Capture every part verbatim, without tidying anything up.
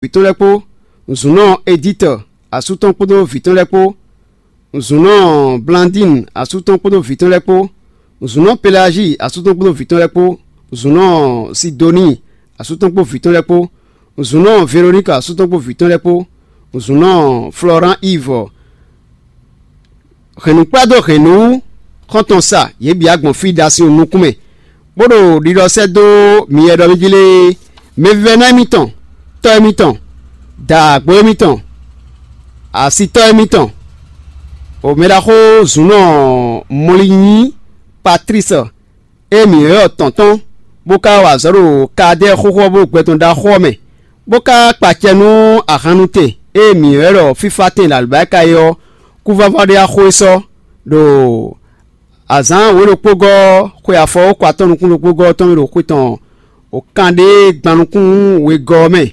vǐ tɔn lɛ́ɛ kpó, zǔnɔ Editɔ asú tɔn kpódó vǐ tɔn lɛ́ɛ kpó, zǔnɔ Blandín asú tɔn kpódó vǐ tɔn lɛ́ɛ kpó, zǔnɔ Pelají asú tɔn kpódó vǐ tɔn lɛ́ɛ kpó, zǔnɔ Sidoni asú tɔn kpó vǐ tɔn lɛ́ɛ kpó, zǔnɔ Veloníka asú tɔn kpó vǐ tɔn lɛ́ɛ kpó, zǔnɔ Flɔrán Ivɔ, hɛ̌nnukplá dó hɛ̌nnu xɔ́ntɔn sa, yě bǐ gbɔn fí ɖo asin nukún mɛ, bó ɖo ɖiɖɔ sɛ́ dó mi e ɖɔ mì jí lé é. Mɛvívɛ́ná émítɔn, tɔ́ émítɔn, dǎgbó émítɔn, asitɔ́ émítɔn, o mɛɖaxó zǔnɔ Mɔlinyí Patlísi e mǐ ylɔ́ tɔn tɔn, bó ka wa azɔ̌ ɖo Kadɛ́ɛ xóxó ɔ́ bó ɖo gbɛ tɔn ɖaxó ɔ́ mɛ, bó ka kpa acɛ nú ahannutɛn e mǐ ylɔ́ ɖɔ fífátɛn ɖo alɔbáyíká é ɔ́, kúvává ɖé wá xo é sɔ́, ɖo azǎn wǒ ɖokpógɔ́ ɔ́, xwe afɔwókɔ atɔ́ nukún ɖokpógɔ́ ɔ́ tɔn mɛ ɖo xwe tɔn o kan ɖé gban nukún wegɔ́ ɔ́ mɛ,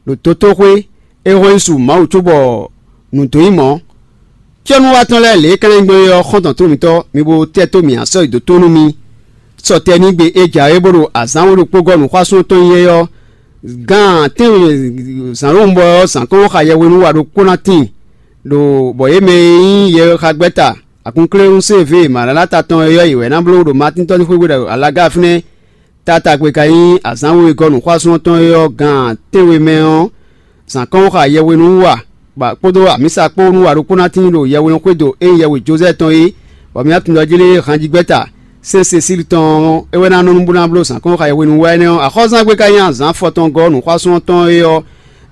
ɖo dotóxwé, é hɔn nyi su Mawu cóbɔ nǔ dó nyí mɔ̌. Cyɔ́núwatɔ́ lɛ́ɛ lě e ka ná nyí gbɔn é ɔ́, xɔ́ntɔn tó mǐtɔn, mi bo tɛ́ tó mǐ asɔ́ yi dó tó nú mi. Sɔtɛ́nigbe e jǎwe bó ɖo azǎn wǒ ɖokpógɔ́ nǔxwásún tɔn nyí é ɔ́, gan tɛ́nwe zǎnlóhunbɔ ɔ́, zǎnkɔ́nxayɛhwenu wa ɖokpó ná tíin, ɖo bɔ yě mɛ e nyí yɛxagbɛ́ta akunkléwúnsɛ́nvé Malalata tɔn é ɔ́, yě wɛ ná bló ɖo Matín tɔn sín xwé gbe ɖo alaga fínɛ́. Taatagbe ka nyí azǎn wegɔ́ nǔxwásún tɔn e ɔ́, gan tɛ́nwe mɛ ɔ́, zǎnkɔ́nxa yɛhwenu wa kpódó amǐsa kpó nú wa ɖokpó ná tíin ɖo yɛhwenuxwédo e nyí yɛhwe Jozɛ́ɛ tɔn é, bɔ mǐ tunwun ɖɔ jí lé hanjigbɛ́ta sɛ́n Sesíli tɔn ɔ́, é wɛ ná nɔ nú bó ná bló zǎnkɔ́nxa yɛhwenu wa énɛ́ ɔ́. Axɔ́zángbé ka nyí azǎn afɔtɔngɔ́ nǔxwásún tɔn e ɔ́,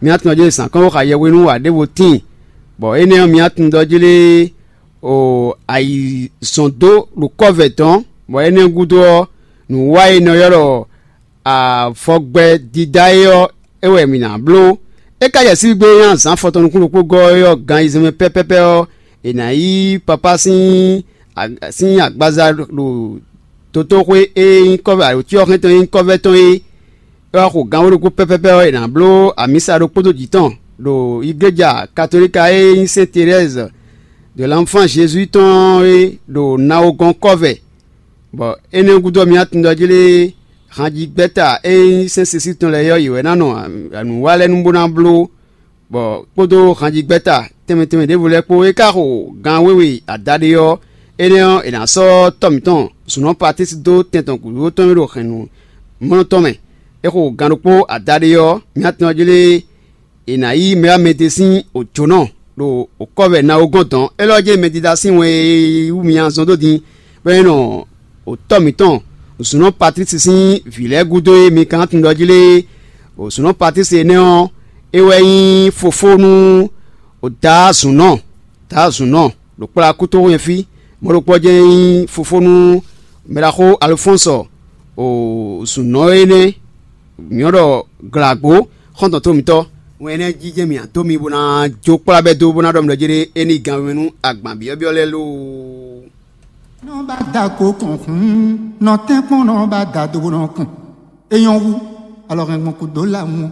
mǐ tunwun ɖɔ jí lé zǎnkɔ́nxa yɛhwenu wa ɖěvo tíin, bɔ énɛ́ ɔ́, mǐ tunwun ɖɔ jí lé o ayǐzɔ́n dó ɖo kɔ́vɛ dɔ̌n, bɔ énɛ́ gúdo ɔ́, nǔ wa e è nɔ ylɔ́ ɖɔ avɔgbɛ dídá é ɔ́, é wɛ mǐ ná bló. É ka jɛ sín gbe e nyí azǎn afɔtɔn nukún ɖokpó gɔ́ é ɔ́, gan ayizɛ́n mɛ pɛ́pɛ́pɛ́ ɔ́, è nǎ yí papá sín sín agbaza ɖo dotóxwé e nyí kɔ́vɛ, aɖǒcyɔ́xɛ́n tɔn e nyí kɔ́vɛ tɔn é. É wá xo gan wǒ ɖokpó pɛ́pɛ́pɛ́ ɔ́, è nǎ bló amǐsa ɖokpó dó jǐ tɔn ɖo igléja katolíka e nyí Sɛ́n Terɛ́zɛ de l'Anfán Jezu tɔn é ɖo Nawogɔ́n kɔ́vɛ, bɔ énɛ́ gúdo ɔ́, mǐ tunwun ɖɔ jí lé hanjigbɛ́ta e nyí Sɛ́n Sesíli tɔn lɛ́ɛ ɔ́, yě wɛ ná nɔ nǔ wa lɛ́ɛ nu bó ná bló, bɔ kpódó hanjigbɛ́ta tɛnmɛ tɛnmɛ ɖěvo lɛ́ɛ kpó. É ka xo gan wěwe adaɖé ɔ́, énɛ́ ɔ́, è nǎ sɔ́ tɔ́ mǐtɔn zǔnɔ Patísi dó tɛn tɔn gǔdo tɔn e ɖo hɛ̌nnu mlɔ́ tɔn mɛ. É xo gan ɖokpó adaɖé ɔ́, mǐ tunwun jí lé è nǎ yí mɛ wá mɛ ɖé sín òjǒnɔ ɖo kɔ́vɛ Nawogɔ́n dɔ̌n. Élɔ́ jɛ́n mɛdídá sín wɛn e wú mi nyi azɔn dó din, bɔ é nɔ tɔ́ mǐtɔn zǔnɔ Patlísi sín vǐ lɛ́ɛ gúdo e mi ka ná tunwun ɖɔ jí lé é. Zǔnɔ Patlísi énɛ́ ɔ́, é wɛ nyí fofó nú Daá zǔnɔ, Daá zǔnɔ ɖo kplá kútóxwé fí. Mɔ̌ ɖokpó ɔ́ jɛ́n nyí fofó nú mɛɖaxó Alofɔ́nsɔ, zǔnɔ énɛ́, mǐ nɔ ɖɔ glǎgbó xɔ́ntɔn tó mǐtɔn. Wɛn énɛ́ jijɛ mì adó mi bó ná jó kplá bɛ́ dó bó ná ɖɔ mi ɖɔ jé ɖé é ní gan wɛn nú agban byɔ́byɔ́ lɛ́ɛ lóo. Nɔ ba da ko kɔn hun, nɔ tɛn kpɔn nɔ ba da do nɔ kun. E nyɔ wu, alɔ hɛn gbɔn kudo la ŋu.